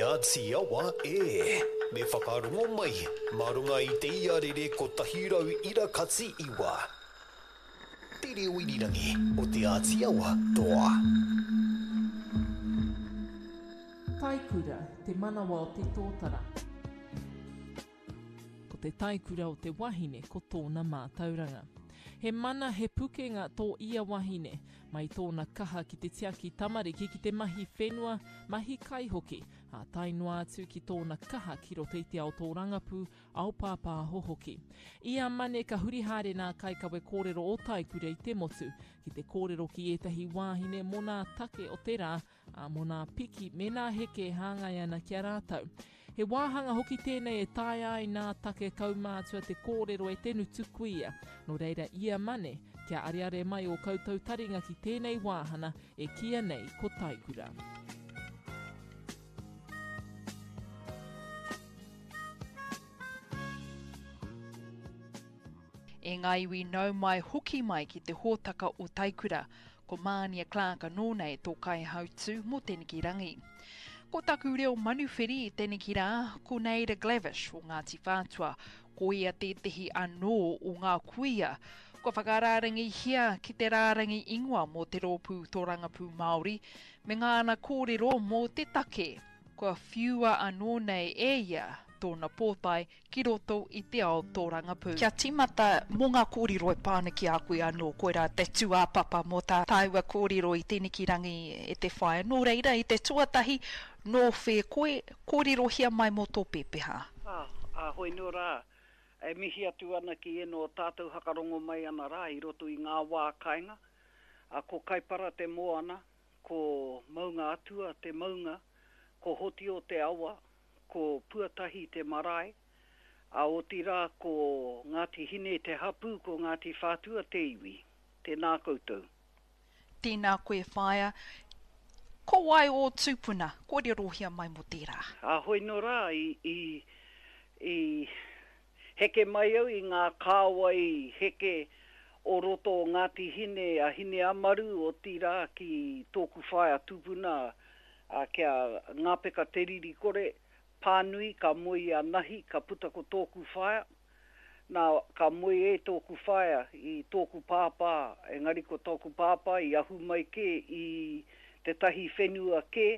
Āti Awa e! Me whakarongo mai mā runga i te iarere 100 ira kati iwa. Te reo irirangi o Te Āti Awa toa. Taikura, te manawa o te tōtara. Ko te taikura o te wahine ko tōna mātauranga. He mana, he pukenga tō ia wahine, mai tōna kaha ki te tiaki tamariki ki te mahi whenua, mahi kai hoki, ā, tae noa atu ki tōna kaha ki roto i te ao tōrangapū, ao pāpāho hoki. I a Mane ka huri haere nā kaikawe kōrero o Taikura i te motu ki te kōrero ki ētahi wāhine mō nā take o te rā, ā, mō nā piki me nā heke e hāngai ana ki a rātou. He wāhanga hoki tēnei e taea ai nā take kaumātua te kōrero e te ngutu kuia. Nō reira ia Mane, kia areare mai ō koutou taringa ki tēnei wāhana e kīia nei ko Taikura. E ngā iwi nau mai hoki mai ki te hōtaka o Taikura, ko Mānia Clark anō nei tō kaihautū mō teneki rangi. Ko taku reo manuwhiri i teneki rā, ko Neida Glavish o Ngāti Whātua, ko ia tētehi anō o ngā kuia kua whakarārangihia ki te rārangi ingoa mō te Rōpū Tōrangapū Māori me ngāna kōrero mō te take kua whiua anō nei e ia tōna pōtae ki roto i te ao tōrangapū. Kia tīmata mō ngā kōrero e pā ana ki a koe anō, koirā te tūāpapa mō tā tāua kōrero i tēneki rangi e te whaea. Nō reira, i te tuatahi, nō whē koe, kōrerohia mai mō tō pēpeha. Ā, ā, hoi nō rā, e mihi atu ana ki ēnō o tātou hakarongo mai ana rā i roto i ngā wā kainga, ā, ko Kaipara te moana, ko Maunga Atua te maunga, ko Hotio te awa, ko Puatahi te marae, ā, otirā ko Ngāti Hine te hapū, ko Ngāti Whātua te iwi. Tēnā koutou. Tēnā koe whaea. Ko wai ō tūpuna? Kōrerohia mai mō tērā. Ā, hoi nō rā, i, i, i heke mai au i ngā kāwai heke o roto o Ngāti Hine a Hineamaru, otirā ki tōku whaea tupuna, Ā, ki a Ngāpeka Te Ririkore, pānui, ka moe i a Nahi, ka puta ko tōku whaea. Nā, ka moe e tōku whaea i tōku pāpā, engari ko tōku pāpā i ahu mai kē i tētahi whenua kē,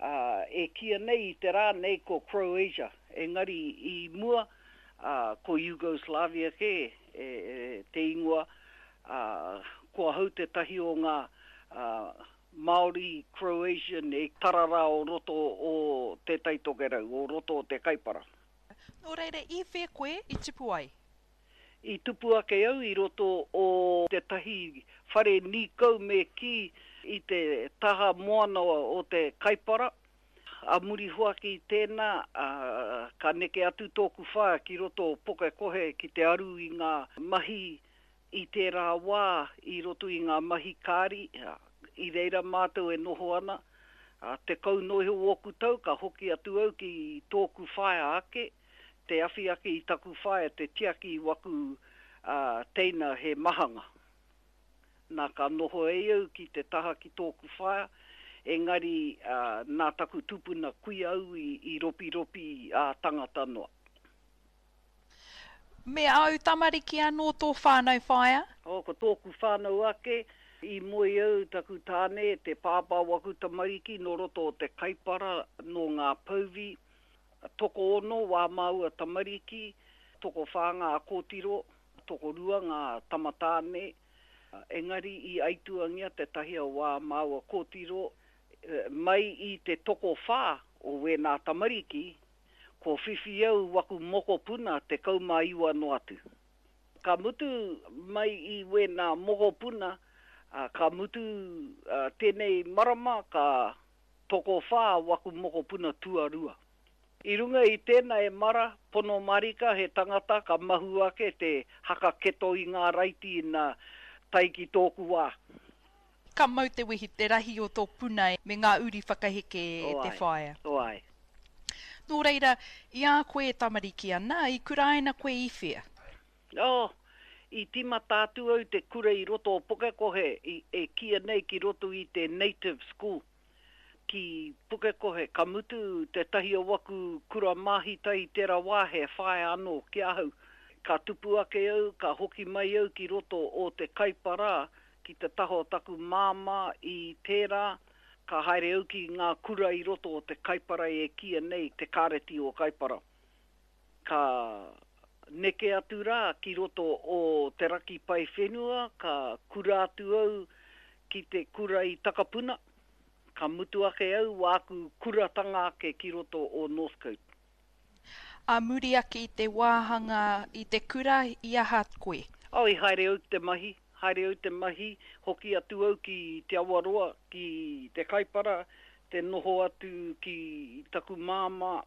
ā, e kīia nei i te rā nei ko Croatia, engari i mua, ā, ko Yugoslavia kē e, te ingoa, ā, ko ahau tētahi o ngā, ā, Māori, Croatian, e tarara o roto o Te Tai Tokerau, o roto o Te Kaipara. Nō reira, i whea koe i tupu ai? I tupu ake au i roto o tētahi whare nīkau me kī i te taha moana o Te Kaipara. A muri hoaki i tēnā, ka neke atu tōku whaea ki roto o Pukekohe ki te aru i ngā mahi I tērā wā, i roto i ngā mahi kāri, i reira mātou e noho ana, ā, 10 noa iho ōku tau, ka hoki atu au ki tōku whaea ake, te awhi ake i taku whaea, te tiaki i waku, ā, teina he mahanga. Nā, ka noho e au ki te taha ki tōku whaea, engari, ā, nā taku tupuna kuia au i, i ropiropi ā-tangata noa. Me āu tamariki anō tō whānau whaea? Oh, ko tōku whānau ake, i moe au taku tāne, te pāpā o aku tamariki nō roto o te Kaipara, nō Ngā Pouvi. Tokoono wā māua tamariki, tokowhā ngā kōtiro, tokorua ngā tamatāne, engari i aituangia tētahi o wā māua kōtiro mai i te tokowhā o wēnā tamariki, Kua whiwhi au waku mokopuna 19 noa atu. Ka mutu mai i wēnā mokopuna, ka mutu tēnei marama ka tokowhā waku mokopuna tuarua. I runga i tēnā e mara, pono marika he tangata ka mahu ake te haka keto i ngā raiti ina tae ki tōku wā. Ka mau te wehi te rahi o tō puna me ngā uri whakaheke e te whaea. O ai. Nō reira, i a koe e tamariki ana, i kuraina koe i whea? Oh, i tīmata atu au te kura i roto o Pukekohe, i, e kīia nei ki roto i te Native School. ki Pukekohe, ka mutu tētahi o waku kura māhita i tērā wā he whaea anō ki ahau. Ka tupu ake au, ka hoki mai au ki roto o te Kaipara ki te taha o taku māmā i tērā, ka haere au ki ngā kura i roto o te Kaipara e kīia nei te Kāreti o Kaipara. Ka neke atu rā ki roto o Te Raki Paewhenua, ka kura atu au ki te kura i Takapuna, ka mutu ake au wāku kuratanga ake ki roto o Northcote. Ā muri ake i te wāhanga i te kura i aha koe? Oh, i haere au ki te mahi, haere au te mahi, hoki atu au ki Te Awaroa, ki Te Kaipara, te noho atu ki taku māmā,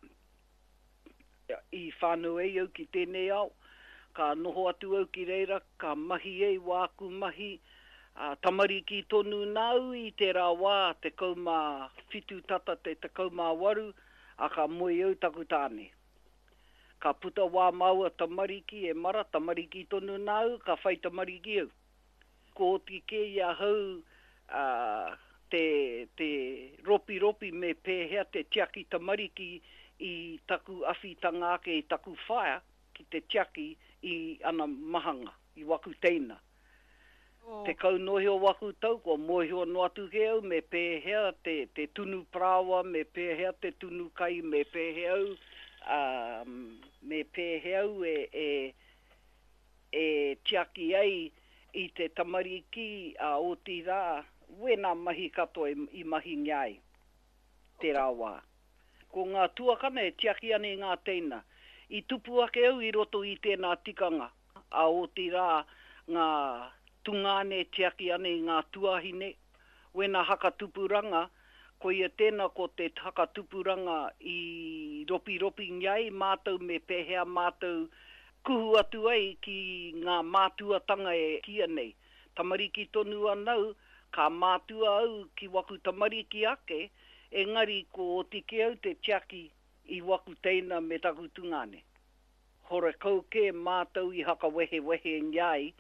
I whānau ai au ki tēnei ao, ka noho atu au ki reira, ka mahi ai wāku mahi, ā, tamariki tonu nāu i tērā wā, 17 tata te 18, ā, ka moe au taku tāne. Ka puta wā māua tamariki, e mara, tamariki tonu nāu, ka whai tamariki au. Kua oti kē i ahau te te ropiropi me pēhea te tiaki tamariki i taku awhitanga ake i taku whaea ki te tiaki i ana mahanga, i waku teina. 10 noa iho waku tau, kua mōhio noa atu kē au me pēhea te te tunu parāoa, me pēhea te tunu kai, me pēhea au, me pēhea au e e e tiaki ai i te tamariki, ā, otirā, wēnā mahi katoa i mahingia ai tērā wā. Ko ngā tuakana e tiaki ana i ngā teina. I tupu ake au i roto i tēnā tikanga, ā, otirā, ngā tungāne e tiaki ana i ngā tuahine, Wena hakatupuranga, koia tena ko te hakatupuranga i ropiropingia ai matou me pehea matou kuhu atu ai ki nga mātuatanga e kia nei. Tamariki tonu anau, ka mātua au ki waku tamariki ake, engari ko oti ke au te tiaki i waku teina me taku tungane. Horekau kē mātou i hakawehewehengia ai,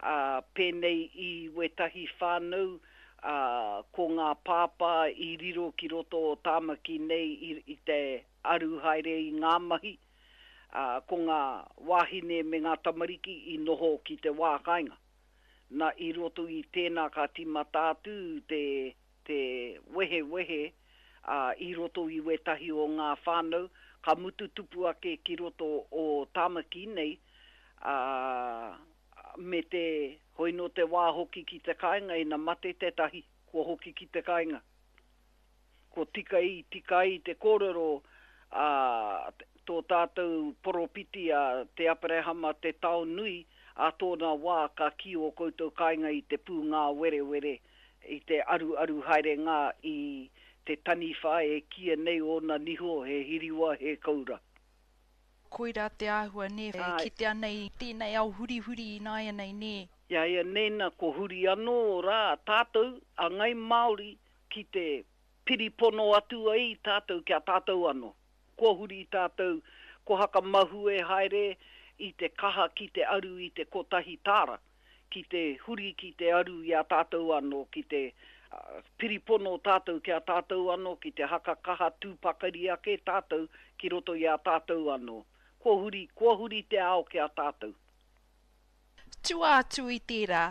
ā, pēnei i wētahi whānau, ā, ko ngā pāpā i riro ki roto o Tāmaki nei i, i te aru haere i ngā mahi, ā, ko ngā wāhine me ngā tamariki i noho ki te wā kāinga. Na, i roto i tēnā ka tīmata atu te, te wehewehe, ā, i roto i wētahi o ngā whānau, ka mutu tupu ake ki roto o Tāmaki nei, ā, me te, hoi nō te wā hoki ki te kāinga ina mate tētahi, kua hoki ki te kāinga. Ko tika i tika ai te kōrero a tō tātou poropiti a Te Aperehama Te Taonui, ā tōna wā ka kī ō koutou kāinga i te pūngāwerewere, i te aruaru haere ngā i te taniwha e kīia nei ōna niho he hiriwa, he koura. Koirā te āhua nē, e kitea nei i tēnei ao hurihuri ināianei nē. I a ia neina ko huri anō rā tātou a Ngai Māori ki te piripono atu ai tātou ki a tātou anō. Kua huri tātou, kua hakamahue haere i te kaha ki te aru i te kotahi tāra, ki te huri ki te aru i a tātou anō, ki te piripono tātou ki a tātou anō, ki te haka kaha tū pakari ake tātou ki roto i a tātou anō. Kua huri, kua huri te ao ki a tātou. Tua atu i tērā,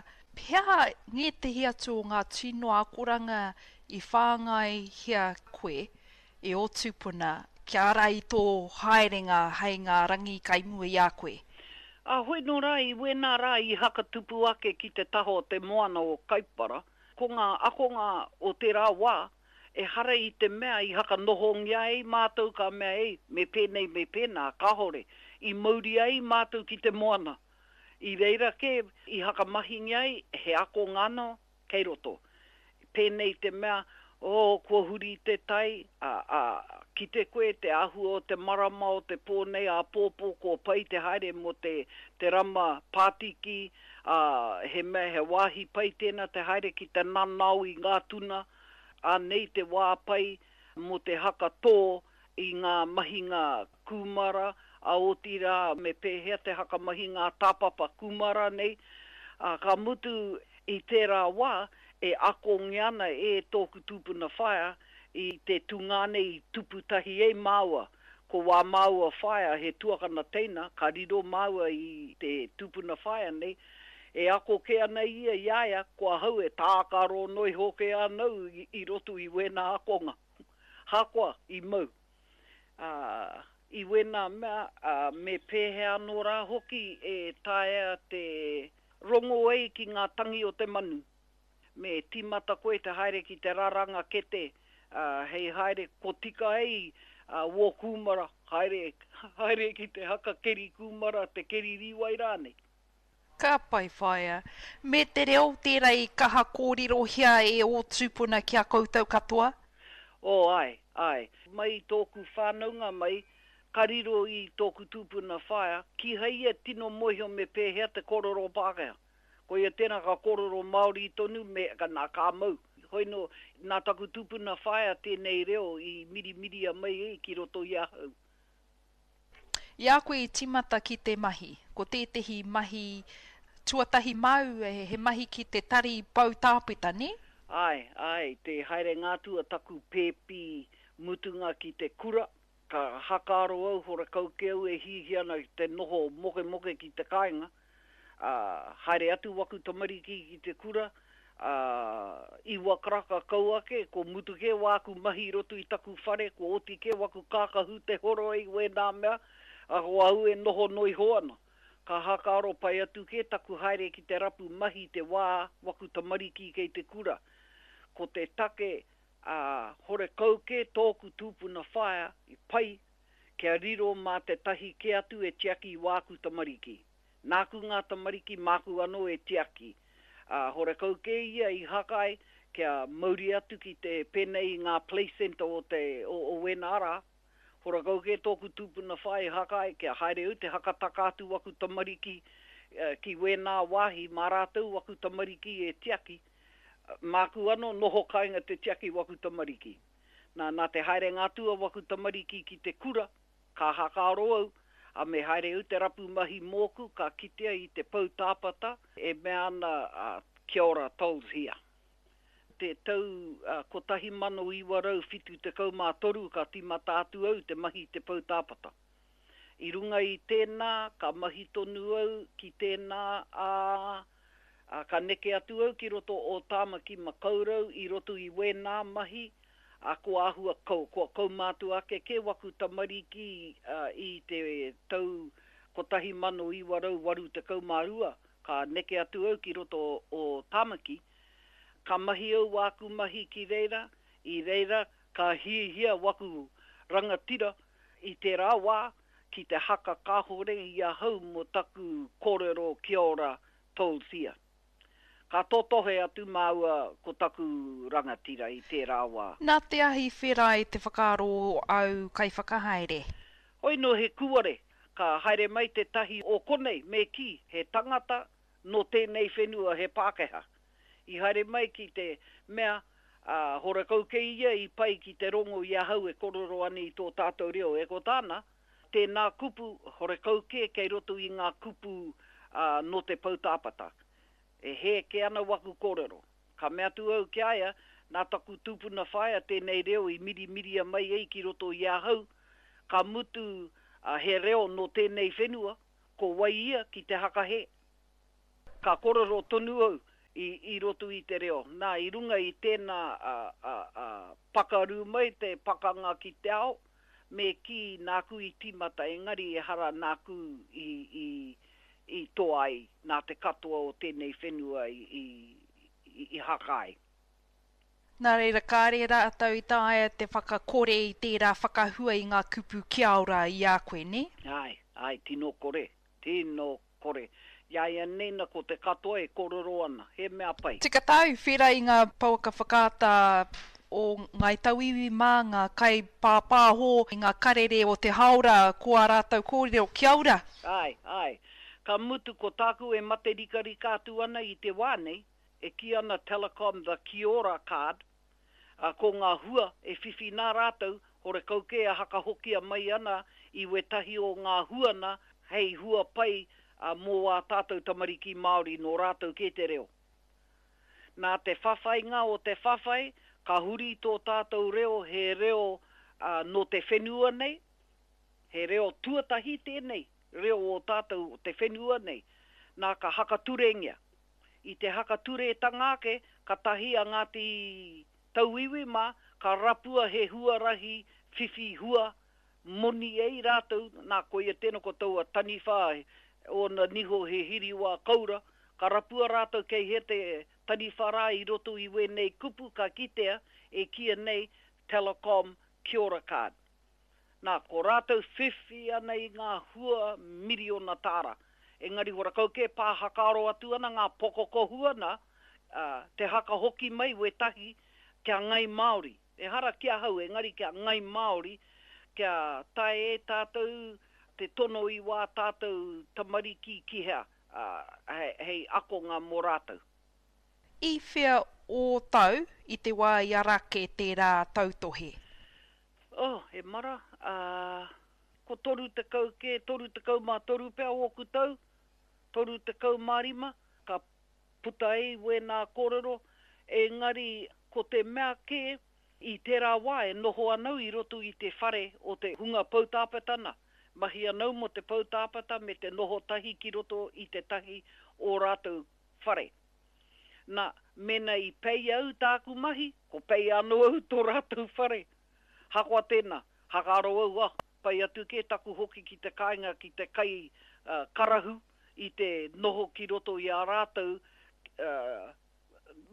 he aha ngētehi atu o ngā tino akoranga i whāngaihia koe e ō tūpuna kia ara i tō haerenga hei ngā rangi kai mua i a koe? Ā, hoi nō rā i wēnā rā i hakatupu ake ki te taha o te moana o Kaipara, ko ngā akonga o tērā wā, ehara i te mea i hakanohongia ai mātou ka mea ei, me pēnei me pēnā, kāore, i mauria ai mātou ki te moana. I reira kē i hakamahingia ai he akonga anō kei roto. Pēnei te mea, oh, kua huri te tai, ā, ā, kite koe te āhua o te marama o te pō nei, āpōpō kua pai te haere mō te, te rama pātiki, ā, he mea, he wāhi pai tēnā te haere ki te nanao i ngā tuna, ānei te wā pai mō te haka tō i ngā mahinga kūmara, ā, otirā me pēhea te haka mahi ngā tāpapa kūmara nei, ā, ka mutu i tērā wā e akongia ana e tōku tūpuna whaea I te tungāne i tupu tahi ai māua, ko wā māua whaea he tuakana teina, ka riro māua i te tupuna whaea nei, e ako kē ana ia i a ia, ko ahau e tākaro noa iho kē ana au i roto i wēnā akonga. Hakoa i mau. Ā, i wēnā mea, ā, me pēhea anō rā hoki e taea te rongo ai ki ngā tangi o te manu? Me tīmata koe te haere ki te raranga kete, ā, hei haere ko tika ai wō kūmara, haere, haere ki te haka keri kūmara, te keri rīwai rānei. Ka pai whaea. Me te reo tērā i kaha kōrerohia e ō tūpuna ki a koutou katoa? Oh, āe, āe. Mai i tōku whānaunga mai, ka riro i tōku tūpuna whaea, kīhai ia tino mōhio me pēhea te kōrero Pākehā. Koia tērā ka kōrero Māori tonu me, nā, ka mau. Hoi nō, nā taku tūpuna whaea tēnei reo i mirimiria mai ai ki roto i ahau. I a koe i tīmata ki te mahi, ko tētehi mahi tuatahi māu, he mahi ki te tari pou tāpeta, nē? Āe, āe, te haerenga atu a taku pēpi mutunga ki te kura, ka hakaaro au horekau ke au e hiahia ana ki te noho mokemoke ki te kāinga, ā, haere atu waku tamariki ki te kura, ā, iwa karaka kau ake, ko mutu kē wāku mahi i roto i taku whare, kua oti kē waku kākahu te horoi wēnā mea, ā, ko au e noho noa iho ana. Ka hakaaro pai atu kē taku haere ki te rapu mahi te wā waku tamariki kei te kura. Ko te take, ā, horekau kē tōku tūpuna whaea i pai kia riro mā tētahi kē atu e tiaki i wāku tamariki. Nāku ngā tamariki, māku anō e tiaki. Ā, horekau kē ia i haka ai kia mauri atu ki te pēnei i ngā playcentre o te, o, o wēnā rā. Horekau kē tōku tūpuna whaea i haka ai kia haere au te hakataka atu waku tamariki ki wēnā wāhi mā rātou waku tamariki e tiaki. Māku anō noho kāinga te tiaki waku tamariki. Nā, nā te haerenga atu a waku tamariki ki te kura, Ka hakaaro au, a me haere au te rapu mahi mōku, ka kitea i te pou tāpata e mea ana a Kia ora tolls here. Te tau 1973 ka tīmata atu au te mahi i te pou tāpata. I runga i tēnā, ka mahi tonu au ki tēnā, ā, ka neke atu au ki roto o Tāmaki Makaurau i roto i wēnā mahi, Ā, kua āhua kau, kua kaumātua ake kē waku tamariki i te tau 1982, ka neke atu au ki roto o Tāmaki, ka mahi au wāku mahi ki reira, i reira ka hiahia waku rangatira i tērā wā ki te haka kāhore i ahau mō taku kōrero kia ora Tolsia. Ka totohe atu māua ko taku rangatira i tērā wā. Nā te ahi whera i te whakaaro o au kaiwhakahaere. Hoi nō he kūare, ka haere mai tētahi o konei, me kī, he tangata nō tēnei whenua, he Pākehā. I haere mai ki te mea, ā, horekau kei ia i pai ki te rongo i ahau e korero ana i tō tātou reo, e ko tāna, tēnā kupu, horekau kē kei roto i ngā kupu, ā, nō te poutāpata. E hē kē ana waku kōrero. Ka mea atu au ki a ia, nā taku tupuna whaea tēnei reo i mirimiria mai ai ki roto i ahau, ka mutu he reo nō tēnei whenua, ko wai ia ki te hakahē? Ka kōrero tonu au i roto i te reo. Nā, i runga i tēnā pakaru mai te pakanga ki te ao, me kī nāku i tīmata engari ehara nāku i i toa ai nā te katoa o tēnei whenua i haka ai. Nā reira, kāre rātou i taea te whakakore i tērā whakahua i ngā kupu kia ora i a koe, nē? Āe, āe, tino kore, tino kore. I a ia nei na ko te katoa e kōrero ana, he mea pai. Tika tāu, whera i ngā pouaka whakaata o Ngāi Tauiwi mā, ngā kaipāpāho i ngā karere o te hāora, ko ā rātou kōrero, kia ora! Āe, āe. Ka mutu ko tāku e mate rikarika atu ana i te wā nei, e kī ana Telecom the Kia Ora card, ā, ko ngā hua e whiwhi nā rātou, horekau kē a hakahokia mai ana i wētahi o ngā hua nā hei hua pai mō ā tātou tamariki Māori nō rātou kē te reo. Nā te whawhainga o te whawhai, Ka huri tō tātou reo he reo nō te whenua nei, he reo tuatahi tēnei reo o tātou o te whenua nei, nā ka hakaturengia. I te hakaturetanga ake, katahi a Ngāti Tauiwi mā, ka rapua he huarahi whiwhi hua moni ai rātou, nā koia tēnā ko taua taniwha ōna niho he hiriwā koura, ka rapua rātou kei hea te taniwha rā i roto i wēnei kupu ka kitea e kīia nei Telecom Kia Ora Card. Nā, ko rātou whiwhi ana i ngā hua miriona tāra. Engari horakau kē pā hakaaro atu ana ngā pokokohua nā, ā, te haka hoki mai wētahi kia ngai Māori. Ehara ki ahau, engari kia ngai Māori, kia tae e tātou te tono i wā tātou tamariki ki hea, ā, hei akonga mō rātou. I whea ō tau i te wā i ara ake tērā tautohe? Oh, e mara, ā, ko 30 kē, 33 pea ōku tau, 35, ka puta ai wēnā kōrero, engari ko te mea kē, i tērā wā e noho ana au i roto i te whare o te hunga poutāpeta na, mahi ana au mō te poutāpeta me te noho tahi ki roto i tētahi o rātou whare. Na, mēnā i pei au tāku mahi, ko pei anō au tō rātou whare. Hakoa tēnā, hakaaro au, ah, pai atu kē taku hoki ki te kāinga ki te kai karahu i te noho ki roto i a rātou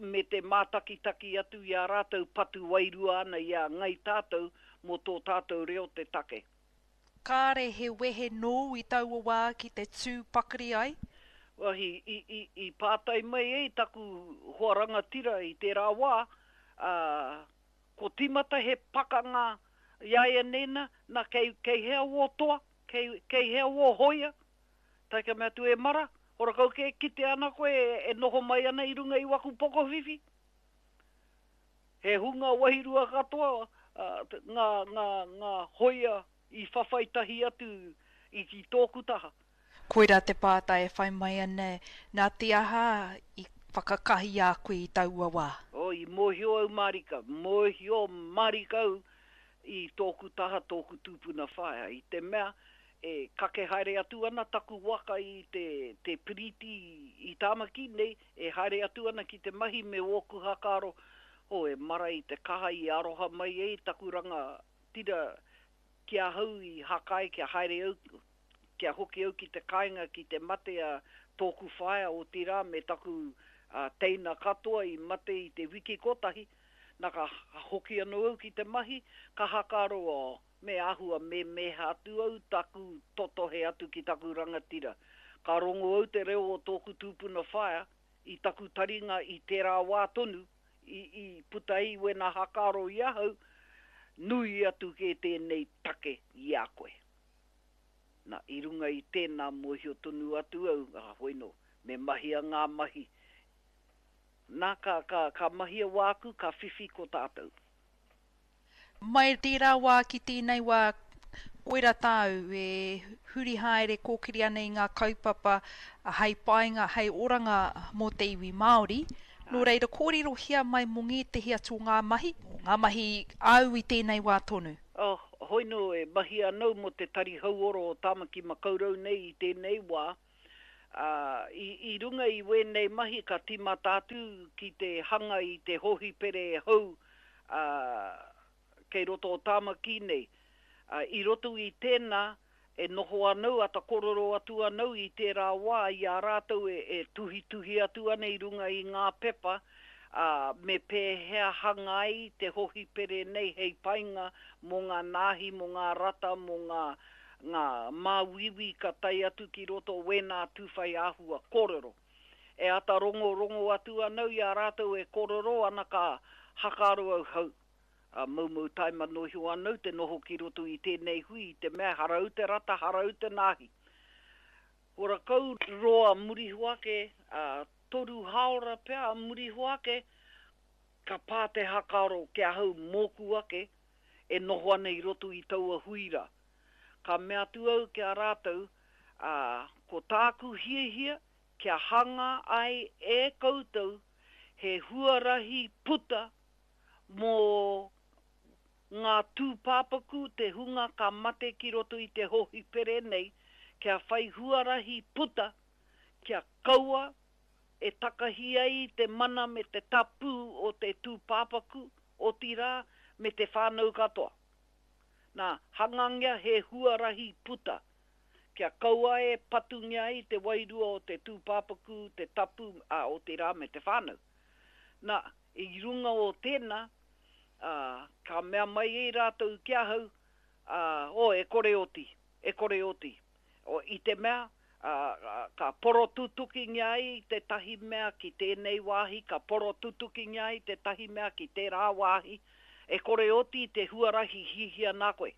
me te mātakitaki atu i a rātou patu wairua ana i a ngai tātou mō tō tātou reo te take. Kāre he wehe nōu i taua wā ki te tū pakari ai? Well, i, i, i, i pātai mai ai taku hoa rangatira i tērā wā, ā, ko tīmata he pakanga iāianei na, na kei, kei hea wō toa, kei, kei hea wō hoia? Tae ka mea atu, E mara, horakau kē, kite ana koe e noho mai ana i runga i waku pokowhiwhi. He hunga wairua katoa ngā, ngā, ngā hoia i whawhai tahi atu i, i tōku taha. Koirā te pātai e whai mai ana, nā te aha i whakakahi a koe i taua wā? Oh, i mōhio au mārika, mōhio mārika au i tōku taha, tōku tupuna whaea, i te mea e kake haere atu ana taku waka i te, te piriti i Tāmaki nei, e haere atu ana ki te mahi me ōku hakaaro, oh, e mara i te kaha i aroha mai ai taku rangatira ki ahau i hakae kia haere au, kia hoki au ki te kāinga ki te mate a tōku whaea, otirā me taku teina katoa i mate i te wiki kotahi, na ka hoki anō au ki te mahi, ka hakaaro, oh, Me āhua memeha atu au taku totohe atu ki taku rangatira. Ka rongo au te reo o tōku tupuna whaea i taku taringa i tērā wā tonu i i puta ai wēnā hakaaro i ahau, nui atu kē tēnei take i a koe. Na, i runga i tēnā mōhio tonu atu au, ā, hoino, me mahia ngā mahi. Na, ka, ka, ka mahia wāku, ka whiwhi ko tātou. Mai tērā wā ki tēnei wā, koira tāu e huri haere kōkiri ana i ngā kaupapa hei painga, hei oranga mō te iwi Māori. Nō reira, kōrerohia mai mō ngētehi atu o ngā mahi, ngā mahi āu i tēnei wā tonu. Oh, hoino e mahi anau mō te Tari Hauora o Tāmaki Makaurau nei i tēnei wā, ā, i, i runga i wēnei mahi ka tīmata atu ki te hanga i te hōhipere hou, ā, kei roto o Tāmaki nei. Ā, i roto i tēnā, e noho anau, ata korero atu anau i tērā wā i a rātou e, e tuhituhi atu ana i runga i ngā pepa, ā, me pēhea hanga ai te hōhipere nei hei painga mō ngā nāhi, mō ngā rata, mō ngā, ngā māuiui ka tae atu ki roto o wēnā tūwhai āhua kōrero. E ata rongorongo atu anau i a rātou e kōrero ana ka hakaaro au hau, a moumou taima nohio anau te noho ki roto i tēnei hui i te mea harau te rata, harau te nāhi. Horakau roa muriho ake, a toru haora pea a muriho ake, ka pā te hakaaro ki ahau mōku ake e noho ana i roto i taua hui rā. Ka mea atu au ki a rātou, ā, ko tāku hiahia kia hanga ai e koutou he huarahi puta Mō ngā tūpāpaku, te hunga ka mate ki roto i te hōhipere nei, kia whai huarahi puta, kia kaua e takahi ai te mana me te tapu o te tūpāpaku, otirā, me te whānau katoa. Nā, hangangia he huarahi puta, kia kaua e patungia ai te wairua o te tūpāpaku, te tapu, ā, otirā, me te whānau. Nā, i runga o tēnā, ā, ka mea mai ai rātou ki ahau, ā, oh, e kore oti, e kore oti. O, i te mea, ā, ka porotutukingia ai tētahi mea ki tēnei wāhi, ka porotutukingia ai tētahi mea ki tērā wāhi, e kore oti te huarahi hihia nā koe.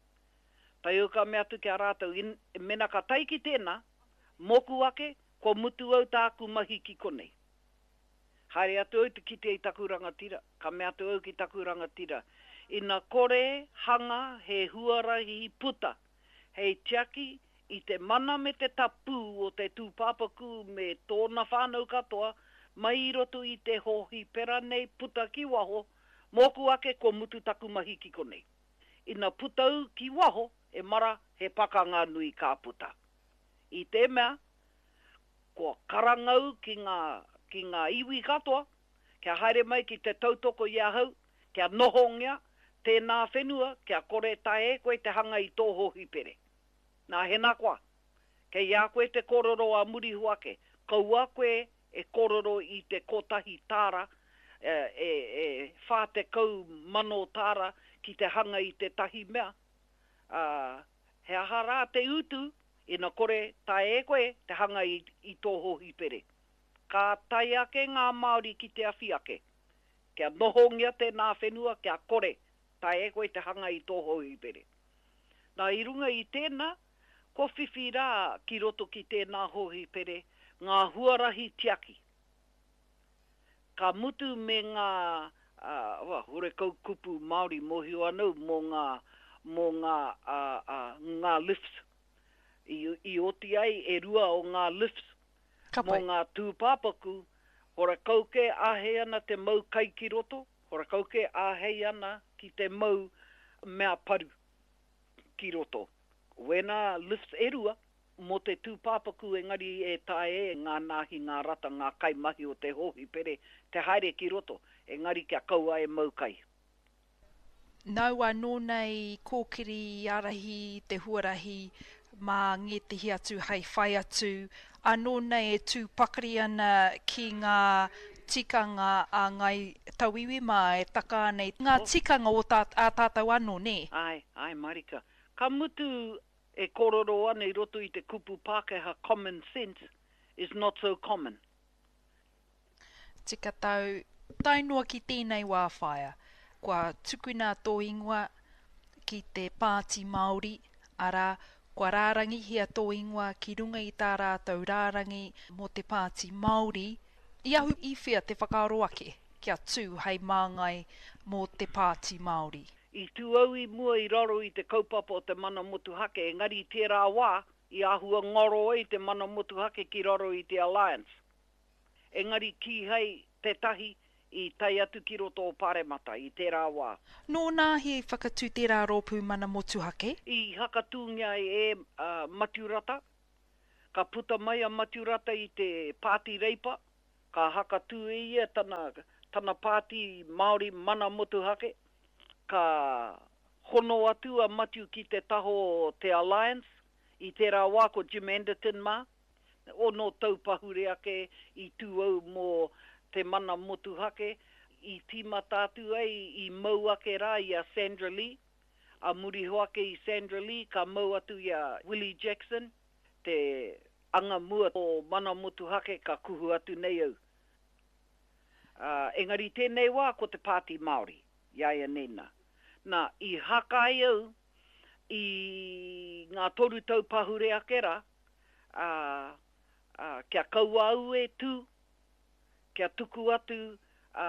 Tae au ka mea atu ki a rātou, in, mena ka tae ki tēnā, mōku ake, kua mutu au tāku mahi ki konei. Haere atu au te kite i taku rangatira, ka mea atu au ki taku rangatira, ina kore hanga he huarahi puta hei tiaki i te mana me te tapū o te tūpāpaku me tōna whānau katoa mai i roto i te hōhipera nei puta ki waho, mōku ake kua mutu taku mahi ki konei. Ina puta au ki waho, e mara, he pakanga nui ka puta. I te mea, Kua karanga au ki ngā, ki ngā iwi katoa, kia haere mai ki te tautoko i ahau, kia nohongia tēnā whenua kia kore taea e koe te hanga i tō hōhipere. Nā, hena koa, kei a koe te kōrero a muri iho ake, kaua koe e kōrero i te kotahi tāra, e, e 40,000 tāra ki te hanga i tētahi mea, ā, he aha rā te utu Ina kore taea e koe te hanga i, i tō hōhipere. Ka tae ake ngā Māori ki te awhi ake. Kia nohongia tēnā whenua kia kore taea e koe te hanga i tō hōhipere. Nā, i runga i tēnā, kua whiwhi rā ki roto ki tēnā hōhipere ngā huarahi tiaki. Ka mutu me ngā, ā, horekau kupu Māori mōhio ana au mō ngā, mō ngā, ā, ā, ngā lifts. I, i oti ai e rua o ngā lifts Ka mō pai. ngā tūpāpaku, horekau kē āhei ana te mau kai ki roto, horekau kē āhei ana ki te mau mea paru ki roto. Wēnā lifts e rua mō te tūpāpaku engari e taea e ngā nāhi, ngā rata, ngā kaimahi o te hōhipere te haere ki roto, engari kia kaua e mau kai. Nāu anō nei i kōkiri, i ārahi i te huarahi mā ngētehi atu hei whai atu, anō nei e tū pakari ana ki ngā tikanga a Ngāi Tauiwi mā e taka ana i ngā tikanga o tā, ā tātou anō, nē? Āe, āe marika. Ka mutu e kōrero ana i roto i te kupu Pākehā common sense is not so common. Tika tau, tae noa ki tēnei wā whaea, kua tukuna tō ingoa ki te Pāti Māori, arā, kua rārangihia tō ingoa ki runga i tā rātou rārangi mō te Pāti Māori, i ahu i whea te whakaaro ake kia tū hei māngai mō te Pāti Māori? I tū au i mua i raro i te kaupapa o te mana motuhake, engari i tērā wā, i āhua ngaro ai te mana motuhake ki raro i te Alliance. Engari kīhai tētahi i tae atu ki roto o Paremata i tērā wā. Nōnāhi i whakatū tērā rōpū mana motuhake? I hakatūngia ai e Matiu Rata. Ka puta mai a Matiu Rata i te Pāti Reipa, Ka hakatū e ia tana, tana pāti Māori mana motuhake. Ka hono atu a Matiu ki te taho o te Alliance, i tērā wā ko Jim Anderton mā. Ono tau pahure ake i tū au mō te mana motuhake, i tīmata atu ai i mau ake rā i a Sandra Lee. A muri iho ake i Sandra Lee ka mau atu i a Willie Jackson, te Anga mua o Mana Motuhake ka kuhu atu nei au. Ā, engari tēnei wā ko te Pāti Māori, i a ia nei nā. Nā, i haka ai au i ngā toru tau pahure ake rā, ā, ā, kia kaua au e tū, kia tuku atu, ā,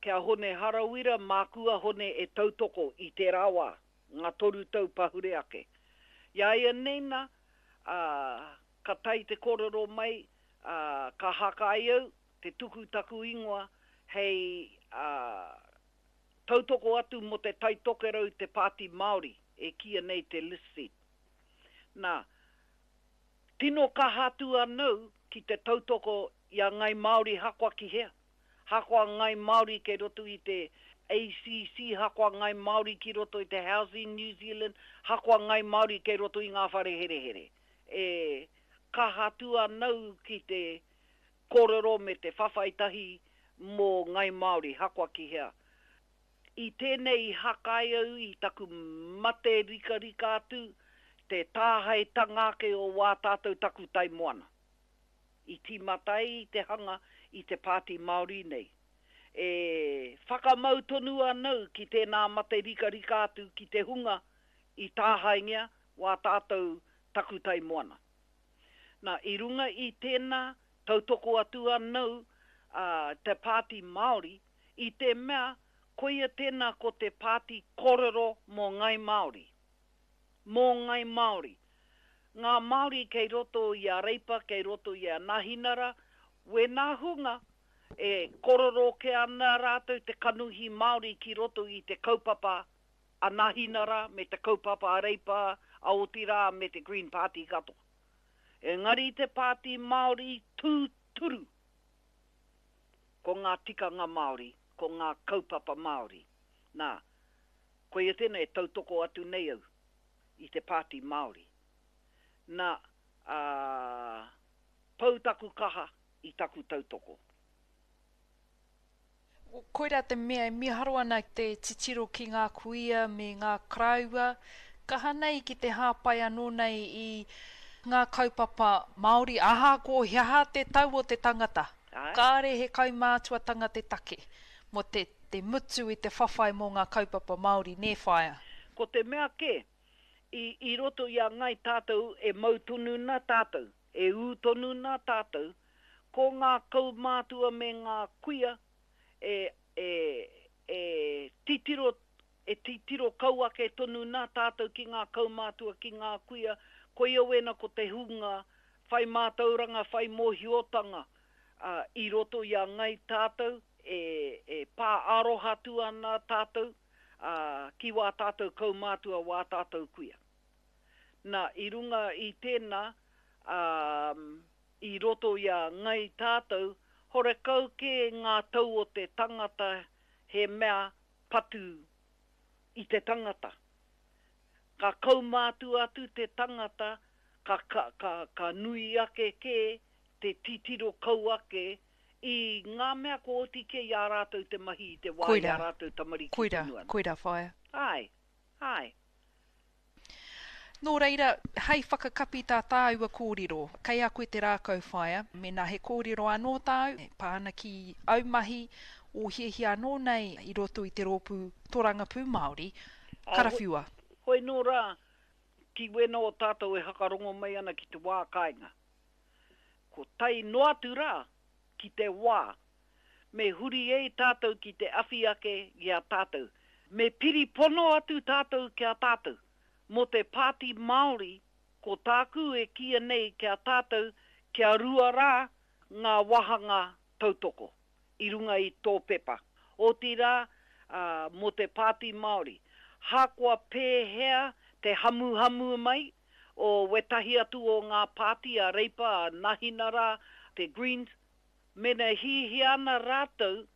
ki a Hone Harawira, māku a Hone e tautoko i tērā wā, ngā toru tau pahure ake. I a ia nei nā, ā, ka tae te kōrero mai, ā, ka haka ai au te tuku taku ingoa hei, ā, Tautoko atu mō te Tai Tokerau te Pāti Māori, e kīia nei te list seat. Nā, tino kaha atu anau ki te tautoko i a Ngai Māori hakoa ki hea. Hakoa Ngai Māori kei roto i te ACC, hakoa Ngai Māori ki roto i te Housing New Zealand, hakoa Ngai Māori kei roto i ngā whare herehere. E kaha atu anau ki te kōrero me te whawhai tahi mō Ngai Māori, hakoa ki hea. I tēnei i hākai au i taku mate rikarika atu te tāhaetanga ake o wā tātou takutai moana. I tīmata ai i te hanga i te Pāti Māori nei. E whakamau tonu anau ki tēnā mate rikarika atu ki te hunga i tāhaengia wā tātou takutai moana. Nā, i runga i tēnā, tautoko atu anau a te Pāti Māori i te mea koia tēnā ko te pāti kōrero mō Ngai Māori. Mō Ngai Māori. Ngā Māori kei roto i a Reipa, kei roto i a Nahinara, wēnā hunga e korero ke ana rātou te kanohi Māori ki roto i te kaupapa a Nahinara me te kaupapa a Reipa, a otirā me te Green Party katoa. Engari te Pāti Māori tūturu ko ngā tikanga Māori, ko ngā kaupapa Māori. Nā, koia tēnei e tautoko atu nei au i te Pāti Māori. Nā, ā, pau taku kaha i taku tautoko. Koirā te mea e miharo ana te titiro ki ngā kuia me ngā koroua, kaha nei ki te hāpai anō nei i ngā kaupapa Māori, ahakoa he aha te tau o te tangata, kāre he kaumātuatanga te take mō te te mutu i te whawhai mō ngā kaupapa Māori, nē whaea? Ko te mea kē, i i roto i a Ngai tātou e mau tonu na tātou, e ū tonu na tātou, ko ngā kaumātua me ngā kuia e, e, e titiro, e titiro kau ake tonu nā tātou ki ngā kaumātua, ki ngā kuia, koia wēnā ko te hunga whai mātauranga, whai mōhiotanga, ā, i roto i a Ngai tātou, e, e pā aroha atu ana tātou, ā, ki wā tātou kaumātua, wā tātou kuia. Nā, i runga i tēnā, ā, i roto i a Ngai tātou, horekau kē ngā tau o te tangata he mea patu i te tangata. Ka kaumātua atu te tangata, ka, ka, ka, ka nui ake kē te titiro kau ake i ngā mea kua oti kē i a rātou te mahi i te wā i a rātou tamariki Koira, tonu ana. koira, whaea. Āe, āe. Nō reira, hei whakakapi tā tāua kōrero, kei a koe te rākau whaea, mēnā he kōrero anō tāu e pā ana ki au mahi, ō hiahia anō nei i roto i te rōpū Torangapū Māori, karawhiua. Hoi nō rā, ki wēnā o tātou e hakarongo mai ana ki te wā kāinga. Ko tae noa atu rā ki te wā me huri ei tātou ki te awhi ake i a tātou. Me piri pono atu tātou ki a tātou. Mō te Pāti Māori, ko tāku e kīia nei ki a tātou kia ruarā ngā wāhanga tautoko i runga i tō pepa. Otirā, mō te Pāti Māori, hakoa pēhea te hamuhamu mai o wētahi atu o ngā pāti a Reipa, a Nahinara, te Greens, mena e hiahia ana rātou.